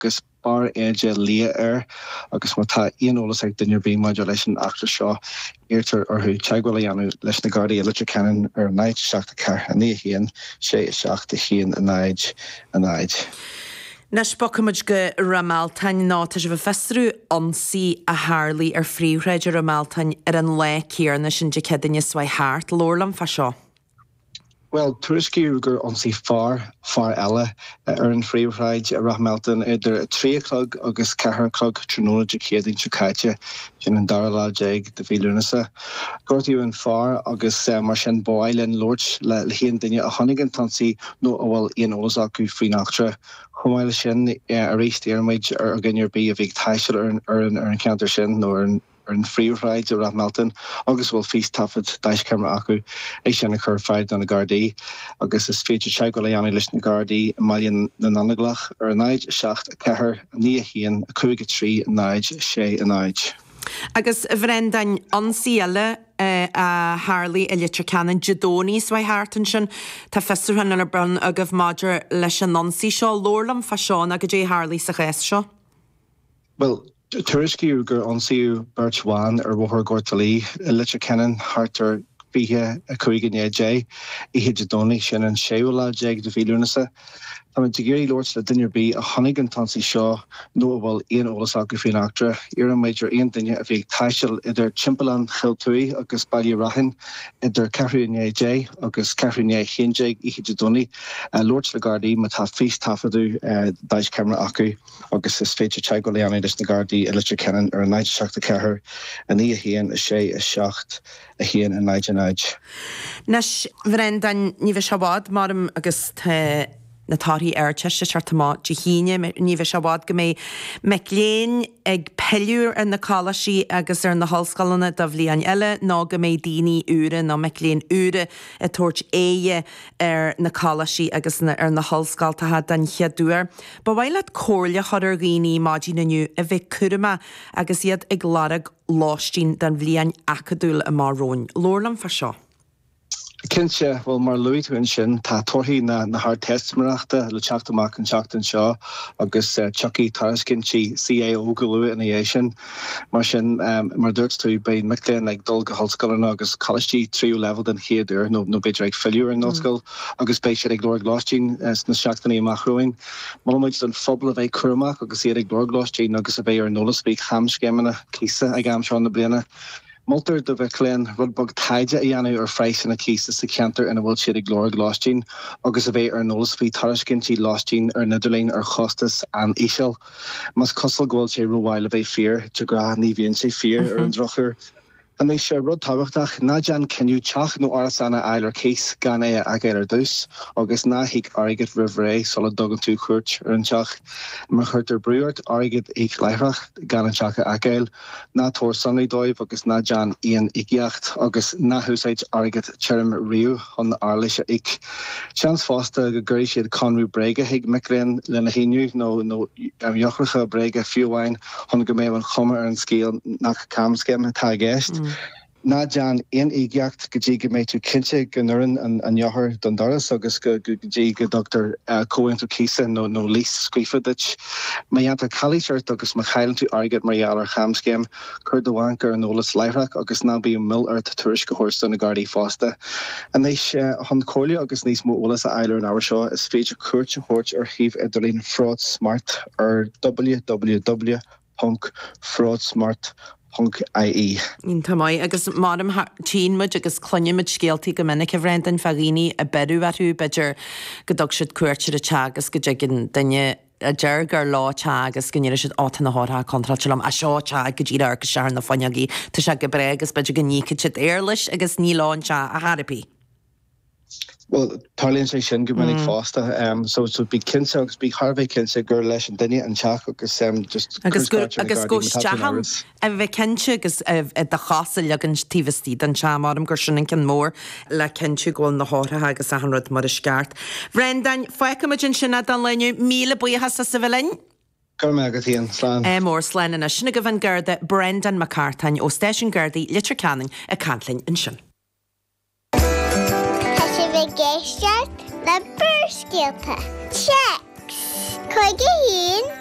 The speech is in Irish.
Agus barr éide liath air agus má tá aon eolas ag duine ar bith maidir leis an eachtra seo, iarrtar orthu teagmháil a dhéanamh leis na Gardaí i Leitir Ceanainn ar 0 7 4 9 1 6 7 1 0 0. Anois bogfaimid go Ráth Mealtain nó tá sibh ag fiosrú ionsaí a tharlaigh ar phríomhshráid i Ráth Mealtain ar an lá céanna sin Dé Céadaoine seo chuaigh thart. Labhair liom fá seo. Bhuel, tuairiscíodh gur ionsaigh fear fear eile ar an phríomhshráid i Ráth Mealtain idir 3 a chlog agus 4 a chlog tráthnóna Dé Céadaoin seo caite, sin an dara lá déag de mhí Lúnasa. Gortaíodh an fear agus mar sin ba mhaith linn labhairt le haon duine a chonaic an t-ionsaí nó a bhfuil aon eolas acu faoin eachtra. Chomh maith leis sin, arís iarraimid ar dhuine ar bith a bhí ag taisteal ar an cheantar sin nó ar an ar an phríomhshráid i Ráth Mealtain agus a bhfuil fístaifead deaischeamara acu, é sin a chur ar fáil do na Gardaí agus is féidir teagmháil a dhéanamh leis na Gardaí i mBaile na nAinnaghlach ar 0 7 4 9 1 5 3 0 6 0. Agus a Bhrendáin, ionsaí eile a tharlaigh i Leitir Ceanainn Dé Domhnaigh seo chuaigh thart ansin. Tá fiosrúchán ar bun agaibh maidir leis an ionsaí seo. Labhair liom fá seo nó goidé a tharlaigh sa chás seo. Bhuel, tuairiscíodh gur ionsaíodh beirt bhan ar Bhóthar Ghort a' Lí i Leitir Ceanainn thart ar 25 i ndiaidh 10, oíche Dé Domhnaigh, sin an séú lá déag de mhí Lúnasa. Táimid ag iarraidh labhairt le duine ar bith a chonaic an t-ionsaí seo nó a bhfuil aon eolas acu faoin eachtra. Iarraimid ar aon duine a bhí ag taisteal idir Timpeallán Chill Tuaidh agus Baile Raithin idir ceathrú i ndiaidh 10 agus ceathrú i ndiaidh 11 oíche Dé Domhnaigh labhairt le Gardaí má tá fístaifeadadh deaischeamara acu. agus is féidir teagmháil a dhéanamh leis na Gardaí i Leitir Ceanainn ar 0 7 4 9 1 6 7 1 0 0. Anois, a Bhrendáin, ní bheidh sé i bhfad, maram, agus tá na torthaí Ardteiste ag teacht amach Dé hAoine, ní bheidh sé i bhfad go mbeidh mic léinn ag pilleadh ar na coláistí agus ar na hollscoileanna do bhliain eile nó go mbeidh daoine úra nó mic léinn úra ag tabhairt aghaidhe ar na coláistí agus ar na hollscoltacha den chéad uair. Ba mhaith leat comhairle a chur ar dhaoine maidin inniu a bheith cúramach agus iad ag lorg lóistín don bhliain acadúil amach romhainn. Labhair liom fá seo. Cinnte, bhuel mar a luaigh tú ansin, tá torthaí na hArdteistiméireachta le teacht amach an tseachtain seo agus tiocfaidh tairiscintí CAO go luath ina dhiaidh sin. Mar sin, mar a dúirt tú, beidh mic léinn ag dul go hollscoileanna agus coláistí tríú leibhéal den chéad uair, nó b'fhéidir ag filleadh ar an ollscoil, agus beidh siad ag lorg lóistín sna seachtainí amach romhainn. Molaimid don phobal a bheith cúramach agus iad ag lorg lóistín agus a bheith ar an eolas faoi chamscéimeanna cíosa ag am seo na bliana. Moltar do mhic léinn rud beag taighde a dhéanamh ar phraghsanna cíosa sa cheantar ina bhfuil siad ag lorg lóistín agus a bheith ar an eolas faoi thairiscintí lóistín ar an idirlíon ar chostas an-íseal. Más cosúil go bhfuil sé rómhaith le bheith fíor, de ghnáth ní bhíonn sé fíor ar an drochuair. Anois, rud tábhachtach, ná déan cinneadh teach nó árasán a fháil ar cíos gan é a fheiceáil ar dtús, agus ná híoc airgead roimh ré sula dtugann tú cuairt ar an teach. Má chuirtear brú ort airgead a íoc láithreach gan an teach a fheiceáil, Ná tabhair sonraí dóibh agus ná déan aon íocaíocht, agus ná húsáid airgead tirim riamh chun éarlais a íoc. Seans fosta go gcuirfidh siad conradh bréige chuig mic léinn lena shíniú, nó nó eochracha bréige fiú amháin, chun go mbeadh an chuma ar an scéal nach camscéim atá i gceist. Ná déan aon íocaíocht go dtí go mbeidh tú cinnte go n-oireann an eochair don doras agus go dtí go dtugtar comhaontú cíosa nó lease scríofa duit. Má dhéantar calaois ort agus má chailleann tú airgead mar gheall ar chamscéim, cuir do bhanc ar an eolas láithreach agus ná bíodh moill ort tuairisc a thabhairt do na Gardaí fosta. Anois, chun comhairle agus níos mó eolais a fháil ar an ábhar seo, is féidir cuairt a thabhairt ar shuíomh idirlín Fraud Smart ar www. ponc fraudsmart ponc ie. Iontach maith. Agus maram, tchíonn muid agus cluineann muid scéaltaí go minic, a Bhrendan, fá dhaoine a beireadh orthu, b'fhéidir go dtug siad cuairt ar an teach agus go dtigeann duine a deir gur leo an teach agus go ndéarfaidh siad, Ó, tá na heochracha contráilte liom, á seo teach go díreach amharc isteach ar na fuinneogaí, tá sé go breá agus b'fhéidir go n-íocfaidh siad éarlais agus ní leo an teach ar chor ar bith. Bhuel, tarlaíonn sé sin go minic fosta. So, so bí cinnte agus bí thar a bheith cinnte gur leis an duine an teach agus just Agus gur, agus go isteach ann, a bheith cinnte agus do chos a leagan taobh istigh den teach, maram gur sin an ceann mór le cinntiú go bhfuil na heochracha agus achan rud mar is ceart. Bhrendáin, fágfaimid ansin é don lá inniu. Míle buíochas as a bheith linn. Go raibh maith agat, Ian. Slán. Ádh mór, slán anois. Sin agaibh an Garda Breandán Mac Cartáin ó Stáisiún Gardaí Leitir Ceanainn ag caint linn ansin. Tá sibh ag éisteacht le Barrscéalta. Téacs 51.